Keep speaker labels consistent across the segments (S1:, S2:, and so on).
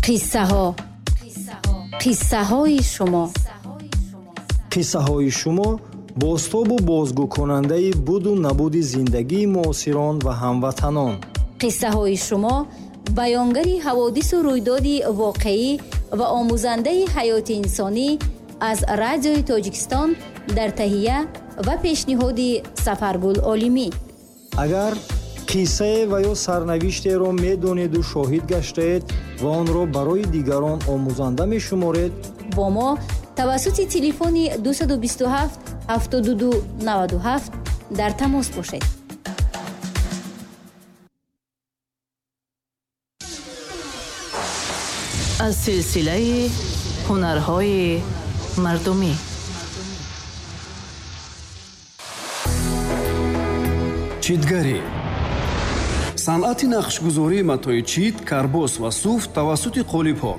S1: Қиссаҳо, қиссаҳои шумо.
S2: Қиссаҳои шумо бозтобу бозгӯкунандаи буду набуди зиндагии муосирон ва ҳамватанон.
S1: Қиссаҳои шумо баёнгари ҳаводису рӯйдоди воқеӣ ва омӯзандаи ҳаёти инсонӣ аз Радиои Тоҷикистон дар таҳия ва пешниҳоди Сафаргул Олимӣ.
S2: Агар қиссае ва ё сарнавиштеро медонеду шоҳид гаштаед ва онро барои дигарон омӯзанда мешуморед,
S1: бо мо тавассути телефони 227 72 97 дар тамос бошед.
S3: Аз силсилаи ҳунарҳои мардумӣ.
S4: Читгарӣ. Санъати нақшгузории матои чит, карбос ва суф тавассути қолибҳо.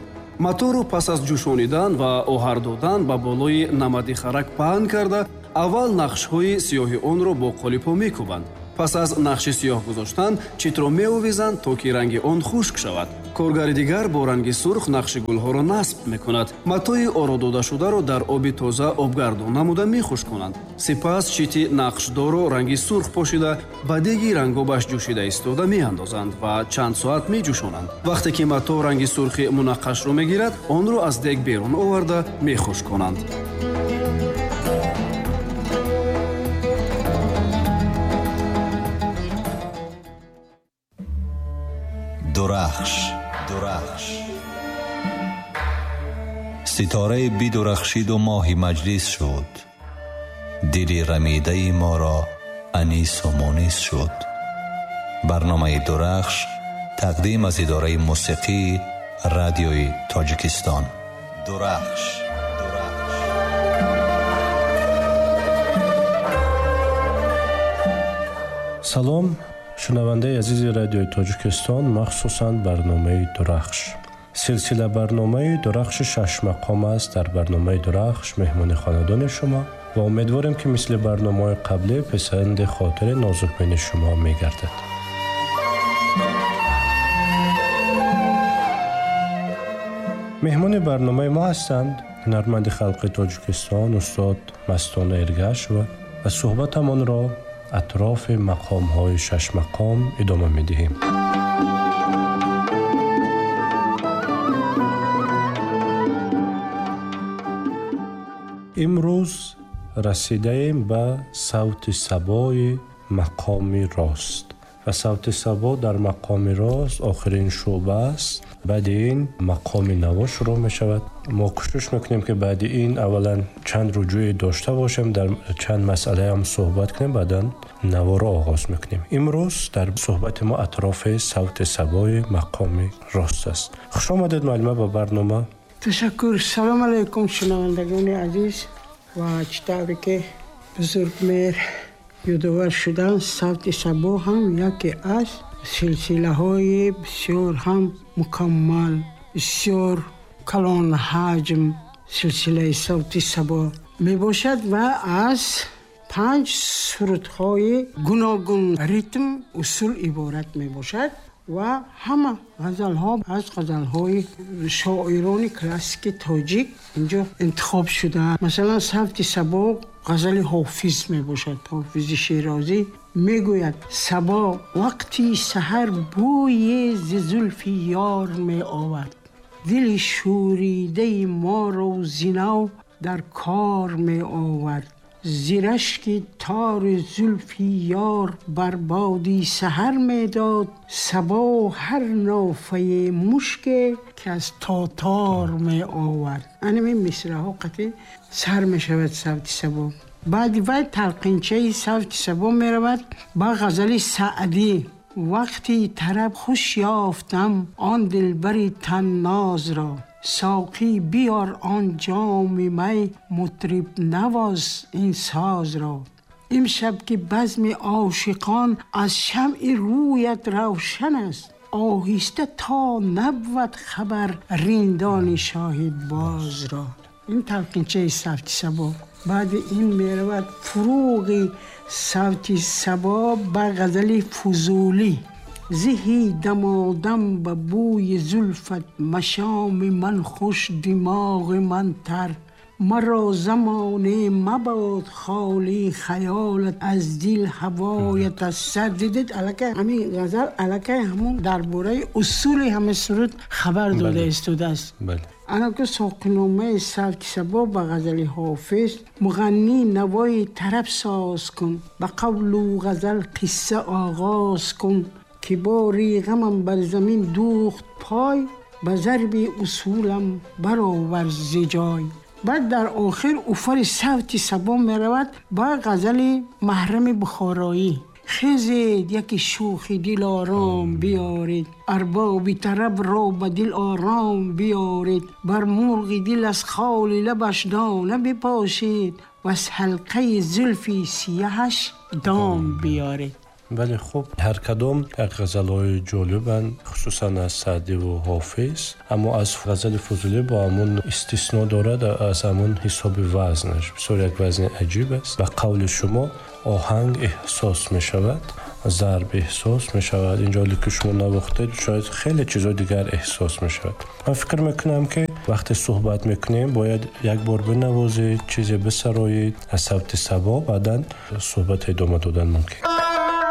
S4: Маторо пас аз ҷӯшонидан ва оҳар додан ба болои намади харак паҳн карда, аввал нақшҳои сиёҳи онро бо қолибҳо мекӯбанд. Пас аз нақши сиёҳ гузоштан, читро меовезанд, то ки ранги он хушк шавад. Коргари дигар бо ранги сурх нақши гулҳоро насб мекунад. Матои оро додашударо дар оби тоза обгардон намуда мехушконанд. Сипас чити нақшдорро ранги сурх пошида, ба деги рангобаш ҷӯшида истода меандозанд ва чанд соат меҷӯшонанд. Вақте ки мато ранги сурхи мунаққашро мегирад, онро аз дег берун оварда мехушконанд.
S5: Дурахш, дурахш. Ситораи бидурахшиду моҳи маҷлис шуд. Дили рамидаи моро анису мунис шуд. Барномаи Дурахш тақдим аз идораи мусиқии Радиои Тоҷикистон. Дурахш.
S6: Салом, шунавандаи азизи Радиои Тоҷикистон, махсусан барномаи Дурахш. Силсила барномаи Дурахши шашмақом аст. Дар барномаи Дурахш меҳмони хонадони шумо ва умедворем, ки мисли барномаҳои қаблӣ писанди хотири нозукбини шумо мегардад. Меҳмони барномаи мо ҳастанд ҳунарманди халқи Тоҷикистон устод Мастона Эргашева ва суҳбатамонро атрофи мақомҳои шашмақом идома медиҳем. Имрӯз расидаем ба савти сабои мақоми рост ва савти сабо дар мақоми рост охирин шӯъба аст. Баъди ин мақоми наво шурӯъ мешавад. Мо кӯшиш мекунем, ки баъди ин аввалан чанд рӯҷӯе дошта бошем, дар чанд масъалаам суҳбат кунем, баъдан наворо оғоз мекунем. Имрӯз дар суҳбати мо атрофи савти сабои мақоми рост аст. Хуш омадед, муаллима, ба барнома.
S7: Ташаккур. Салом алайкум, шунавандагони азиз. Ва чӣ тавре ки бузургмеҳр ёдовар шудан, савти сабо ҳам яке аз силсилаҳои бисёр ҳам мукаммал, бисёр калонҳаҷм силсилаи савти сабо мебошад ва аз 5 сурудҳои гуногун ритм усул иборат мебошад ва ҳама ғазалҳо аз ғазалҳои шоирони классики тоҷик инҷо интихоб шудаанд. Масалан, савти сабо ғазали Ҳофиз мебошад. Ҳофизи Шерозӣ мегӯяд: сабо вақти саҳар бӯи зи зулфи ёр меовард, дили шӯридаи моро зинав дар кор меовард, зи рашки тори зулфи ёр бар боди саҳар медод, сабо ҳар нофаи мушке ки аз тотор меовард. Анамин мисраҳо қатъи сар мешавад савти сабо. Баъди вай талқинчаи савти сабо меравад ба ғазали Саъдӣ: вақти тараб хуш ёфтам он дилбари таннозро, соқӣ биёр он ҷоми май, мутриб навоз ин созро. Имшаб ки базми ошиқон аз шамъи рӯят равшан аст, оҳиста то набвад хабар риндони шоҳидбозро. Ин талқинчаи савти сабо. Баъди ин меравад фурӯғи савти сабо ба ғазали Фузулӣ. Зеҳи дамодам ба бӯи зулфат, машоми ман хуш, димоғи ман тар. Маро замоне мабод холӣ хаёлат аз дил, ҳавоят аз сар. Дидед, аллакай ҳамин ғазал аллакай ҳамон дар бораи усули ҳамин суруд хабар дода истодааст. Ана ки соқиномаи савти сабо ба ғазали Ҳофиз: муғаннӣ, навои тараб соз кун, ба қавлу ғазал қисса оғоз кун, ки бори ғамам бар замин дӯхт пой, ба зарби усулам баровар зи ҷой. Баъд дар охир уфари савти сабо меравад ба ғазали Маҳрами Бухороӣ: хезед, яке шӯхи дилором биёред, арбоби тараб ро ба дил ором биёред, бар мурғи дил аз холи лабаш дона бипошед ва аз ҳалқаи зулфи сияҳаш дом биёред.
S6: Бале, хуб, ҳар кадом як ғазалҳои ҷолибанд, хусусан аз Саъдиву Ҳофиз, аммо аз ғазали Фузулӣ бо ҳамун истисно дорад, аз ҳамун ҳисоби вазнаш бисёр як вазни аҷиб аст. Ба қавли шумо, оҳанг эҳсос мешавад, зарб эҳсос мешавад. Инҷо ки шумо навохтед, шояд хеле чизҳои дигар эҳсос мешавад. Ман фикр мекунам, ки вақте суҳбат мекунем, бояд як бор бинавозед, чизе бисароед аз савти сабо, баъдан суҳбат идома додан мумкин.